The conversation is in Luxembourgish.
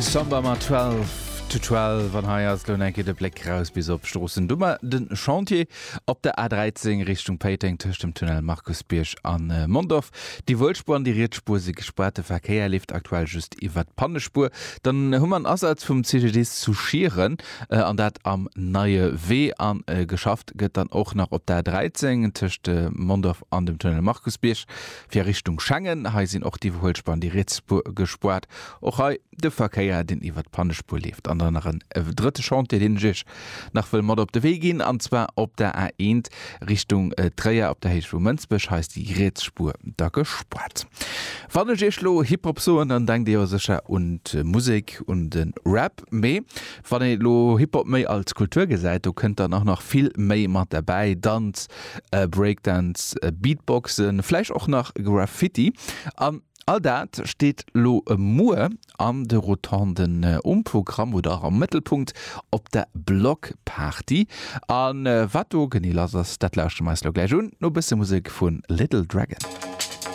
Samba mat 12 to 12 an hei ass lo eng Kéier de Bléck raus bis op Stroossen. Du mar den Chantier op der A13 Richtung Péiteng tëscht dem Tunnel Markusbierg an Mondorf. Déi Wuelspuer an déi riets Spuer si gespaart, de Verkéier leeft aktuell just iwwert d'Pannespuer. Dann hu mer en Asaz vum CGDIS zu Schieren an dat am Neie Wee an geschafft gëtt dann och nach op der A13 tëscht Mondorf an dem Tunnel Markusbierg. Fir Richtung Schengen, hei sinn och d'Iwwerhuelspuer an déi riets Spuer gespoart. Och hei de Verkéier, deen iwwer d'Pannespuer leeft. An dann nach en drëtte Chantier, deen ech Iech nach wëll mat op de Wee ginn, an zwar op der A1 Richtung Tréier op der Héicht vu Mënsbech. Hei ass déi riets Spuer da gespoart. Wann ech Iech lo Hip-Hop soen, dann denkt Dir jo sécher un d'Musek, un de Rap. Mee wann ee lo Hip-Hop méi als Kultur gesäit, do kënnt dann och nach vill méi mat derbäi, Danz, Breakdance, Beatboxen, vläicht och nach Graffiti. An all dat steet lo muer an de Rotonden um Programm oder och am Mëttelpunkt op der Block Party. A wat do genee lass ass, dat lauschtere mer eis lo gläich un, no bësse Musek vu Little Dragon.